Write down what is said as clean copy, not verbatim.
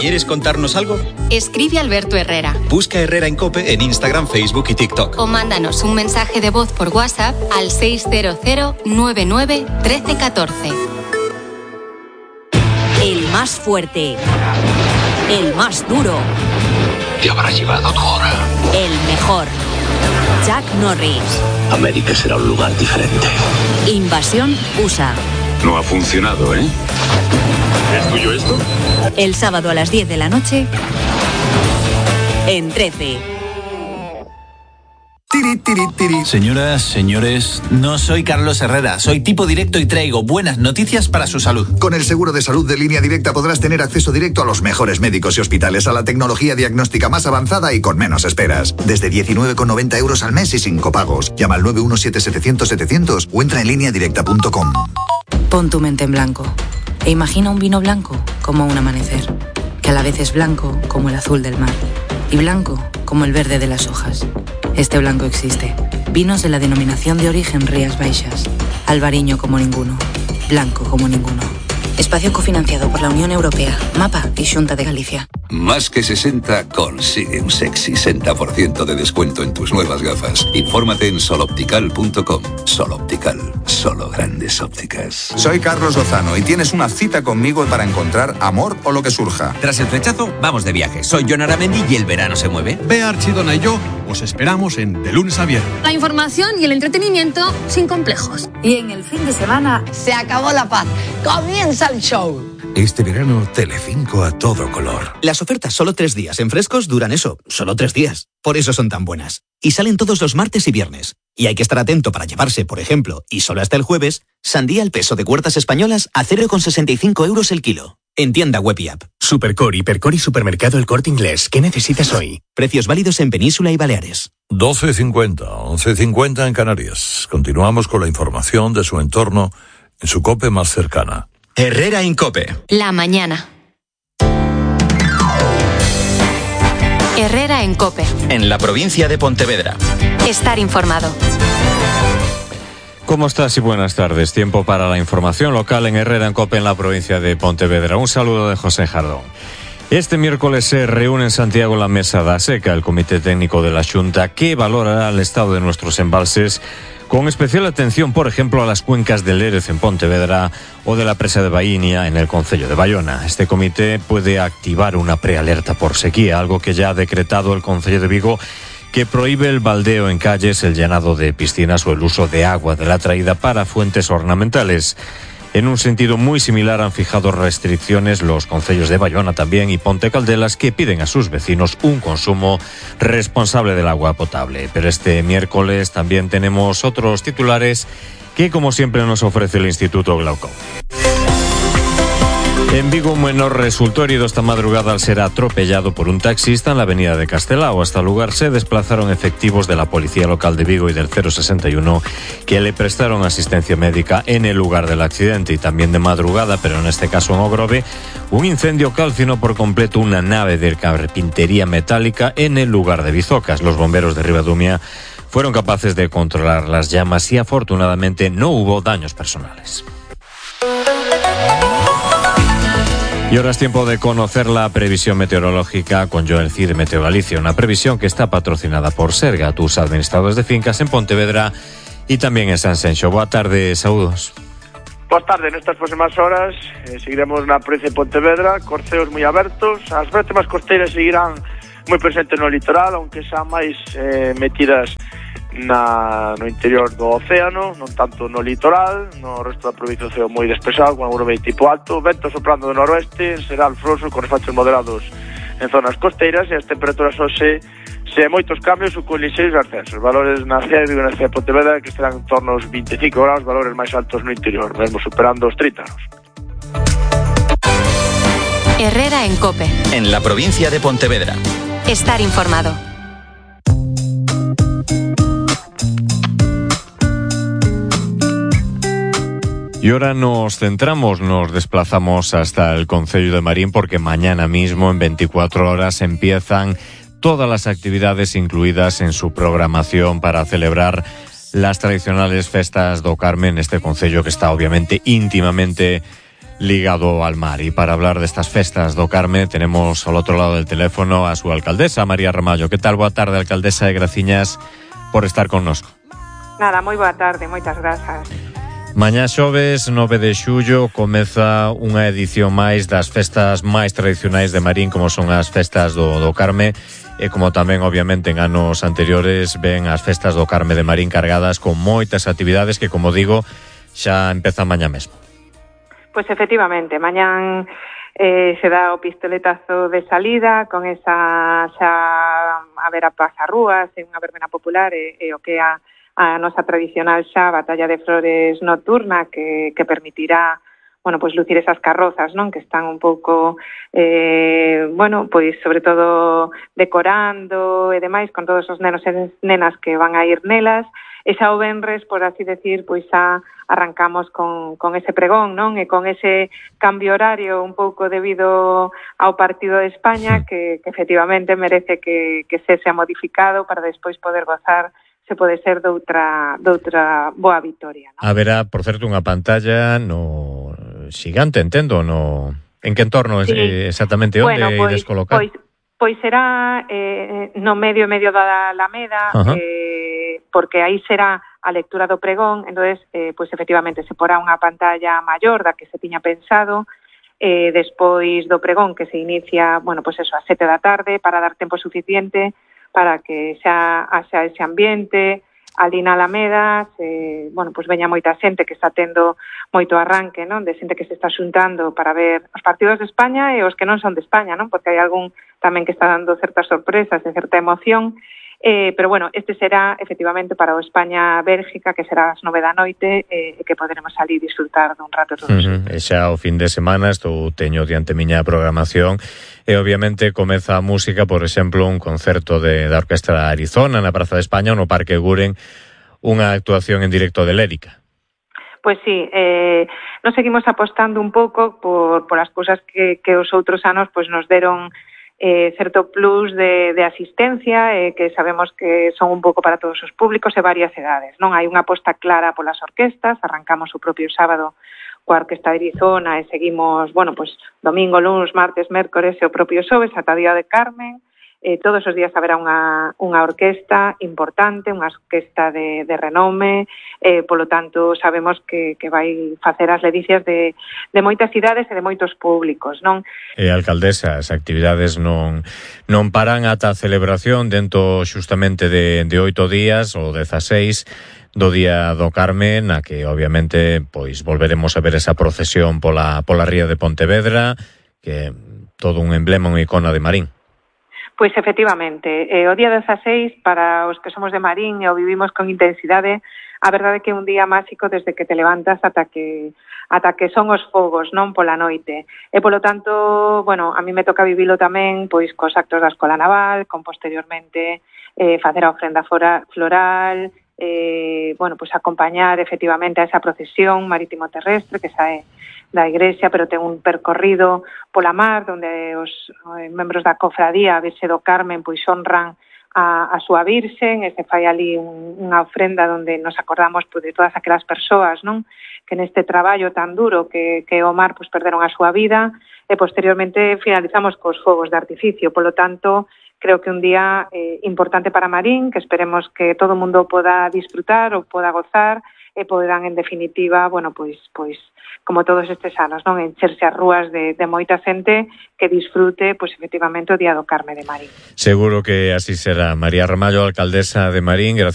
¿Quieres contarnos algo? Escribe a Alberto Herrera. Busca Herrera en COPE en Instagram, Facebook y TikTok. O mándanos un mensaje de voz por WhatsApp al 600 99 13 14. El más fuerte. El más duro. Te habrá llevado tu hora. El mejor. Chuck Norris. América será un lugar diferente. Invasión USA. No ha funcionado, ¿eh? ¿Es tuyo esto? El sábado a las 10 de la noche en 13. Señoras, señores, no soy Carlos Herrera, soy tipo directo y traigo buenas noticias para su salud. Con el seguro de salud de Línea Directa podrás tener acceso directo a los mejores médicos y hospitales, a la tecnología diagnóstica más avanzada y con menos esperas. Desde 19,90 € al mes y sin copagos. Llama al 917-700-700 o entra en lineadirecta.com. Pon tu mente en blanco e imagina un vino blanco como un amanecer, que a la vez es blanco como el azul del mar y blanco como el verde de las hojas. Este blanco existe. Vinos de la denominación de origen Rías Baixas. Albariño como ninguno. Blanco como ninguno. Espacio cofinanciado por la Unión Europea, MAPA y Xunta de Galicia. Más que 60 consigue un sexy 60% de descuento en tus nuevas gafas. Infórmate en soloptical.com. Soloptical, solo grandes ópticas. Soy Carlos Lozano y tienes una cita conmigo para encontrar amor o lo que surja. Tras el flechazo, vamos de viaje. Soy Jon Aramendi y el verano se mueve. Bea Archidona y yo os esperamos en De Lunes a Viernes. La información y el entretenimiento sin complejos. Y en el fin de semana se acabó la paz. Comienza el show. Este verano, Telecinco a todo color. Las ofertas solo 3 días en Frescos duran eso, solo 3 días. Por eso son tan buenas. Y salen todos los martes y viernes. Y hay que estar atento para llevarse, por ejemplo, y solo hasta el jueves, sandía al peso de Huertas Españolas a 0,65 € el kilo. En tienda web y app. Supercor, Hipercor y Supermercado El Corte Inglés. ¿Qué necesitas hoy? Precios válidos en Península y Baleares. 12:50, 11:50 en Canarias. Continuamos con la información de su entorno en su COPE más cercana. Herrera en COPE. La mañana. Herrera en COPE. En la provincia de Pontevedra. Estar informado. ¿Cómo estás y buenas tardes? Tiempo para la información local en Herrera en COPE en la provincia de Pontevedra. Un saludo de José Jardón. Este miércoles se reúne en Santiago la Mesa da Seca, el Comité Técnico de la Xunta, que valorará el estado de nuestros embalses, con especial atención, por ejemplo, a las cuencas del Lérez en Pontevedra o de la presa de Baínia en el concello de Bayona. Este comité puede activar una prealerta por sequía, algo que ya ha decretado el concello de Vigo, que prohíbe el baldeo en calles, el llenado de piscinas o el uso de agua de la traída para fuentes ornamentales. En un sentido muy similar han fijado restricciones los concellos de Bayona también y Ponte Caldelas, que piden a sus vecinos un consumo responsable del agua potable. Pero este miércoles también tenemos otros titulares que, como siempre, nos ofrece el Instituto Glaucoma. En Vigo, un menor resultó herido esta madrugada al ser atropellado por un taxista en la avenida de Castelao. Hasta el lugar se desplazaron efectivos de la Policía Local de Vigo y del 061 que le prestaron asistencia médica en el lugar del accidente. Y también de madrugada, pero en este caso en Ogrove, un incendio calcinó por completo una nave de carpintería metálica en el lugar de Bizocas. Los bomberos de Ribadumia fueron capaces de controlar las llamas y afortunadamente no hubo daños personales. Y ahora es tiempo de conocer la previsión meteorológica con Joel Cid de Meteo Galicia, una previsión que está patrocinada por Serga, tus administradores de fincas en Pontevedra y también en Sanxenxo. Boa tarde, saúdos. Boa tarde, nestas próximas horas seguiremos na provincia de Pontevedra, corceos moi abertos, as brétemas costeiras seguirán moi presentes no litoral, aunque xa máis metidas no interior do océano, non tanto no litoral. No resto da provincia o ceo moi despexado, con algún tipo alto, vento soprando do noroeste, será alfroso con refachos moderados en zonas costeiras, e as temperaturas hoxe se moitos cambios ou con lixeiros ascensos. Valores na cidade de Vigo, na cidade de Pontevedra, que estarán en torno aos 25 graus, valores máis altos no interior, mesmo superando os 30 graus. Herrera en COPE. En la provincia de Pontevedra. Estar informado. Y ahora nos desplazamos hasta el concello de Marín, porque mañana mismo, en 24 horas, empiezan todas las actividades incluidas en su programación para celebrar las tradicionales festas do Carmen, este concello que está obviamente íntimamente ligado al mar. Y para hablar de estas festas do Carme tenemos al otro lado del teléfono a su alcaldesa, María Ramallo. Que tal? Boa tarde, alcaldesa, e graciñas por estar connosco. Nada, moi boa tarde, moitas grazas. Mañá xoves 9 de xullo comeza unha edición máis das festas máis tradicionais de Marín, como son as festas do Carme, e como tamén obviamente en anos anteriores ven as festas do Carme de Marín cargadas con moitas actividades que, como digo, xa empezan mañá mesmo. Pois efectivamente, mañán se dá o pistoletazo de salida con esa xa a ver a pasarrúas e unha verbena popular e o que a nosa tradicional xa batalla de flores nocturna que permitirá, bueno, pois lucir esas carrozas, non, que están un pouco bueno, pois sobre todo decorando e demais con todos os nenos e nenas que van a ir nelas. E xa o venres, por así decir, pois xa arrancamos con ese pregón, non? E con ese cambio horario un pouco debido ao partido de España que efectivamente merece que se sea modificado para despois poder gozar, se pode ser doutra boa vitoria, non? Haberá, por certo, unha pantalla no xigante, entendo, no en que entorno sí. Exactamente onde ides colocar? Pois será no medio da Alameda, porque aí será a lectura do pregón, entonces pois efectivamente se porá unha pantalla maior da que se tiña pensado, despois do pregón que se inicia, bueno, pois eso, ás 7 da tarde, para dar tempo suficiente para que xa haxa ese ambiente ali na Alameda, bueno, pois veña moita xente que está tendo moito arranque, non? De xente que se está xuntando para ver os partidos de España e os que non son de España, non? Porque hai algún tamén que está dando certas sorpresas e certa emoción. Pero bueno, este será efectivamente para o España-Bélgica, que será ás 9 da noite, que poderemos salir disfrutar dun rato todos. E xa o fin de semana, estou teño diante miña programación, e obviamente comeza a música, por exemplo, un concerto da Orquestra Arizona na Praza de España ou no Parque Guren, unha actuación en directo de Lérica. Pois sí, nos seguimos apostando un pouco por as cousas que os outros anos pois nos deron certo plus de asistencia, que sabemos que son un pouco para todos os públicos e varias edades, non? Hai unha aposta clara polas orquestas, arrancamos o propio sábado coa Orquesta de Arizona e seguimos, bueno, pois domingo, luns, martes, mércores e o propio xoves ata o Día de Carmen. Todos os días haberá unha orquesta importante, unha orquesta de renome, polo tanto sabemos que vai facer as ledicias de moitas cidades e de moitos públicos, non? Alcaldesa, as actividades non paran ata a celebración dentro xustamente de 8 días ou 16 do Día do Carme, na que obviamente pois volveremos a ver esa procesión pola ría de Pontevedra, que é todo un emblema, unha icona de Marín. Pois efectivamente, o día 16 para os que somos de Marín e o vivimos con intensidade, a verdade é que é un día máxico desde que te levantas ata que son os fogos, non, pola noite. E polo tanto, bueno, a mí me toca vivilo tamén pois cos actos da Escola Naval, con posteriormente facer a ofrenda floral, bueno, pois acompañar efectivamente a esa procesión marítimo terrestre que sae da igrexa, pero ten un percorrido pola mar, onde os membros da cofradía, a Virxe do Carmen, pois honran a súa Virxen, e se fai ali unha ofrenda onde nos acordamos pois, de todas aquelas persoas, non? Que neste traballo tan duro que o mar pois, perderon a súa vida, e posteriormente finalizamos cos fogos de artificio. Polo tanto, creo que un día importante para Marín, que esperemos que todo o mundo poda disfrutar ou poda gozar, e poderán, en definitiva, bueno, pois como todos estes anos, non, encherse as rúas de moita xente que disfrute, pois efectivamente, o Día do Carme de Marín. Seguro que así será. María Ramallo, alcaldesa de Marín, gracias.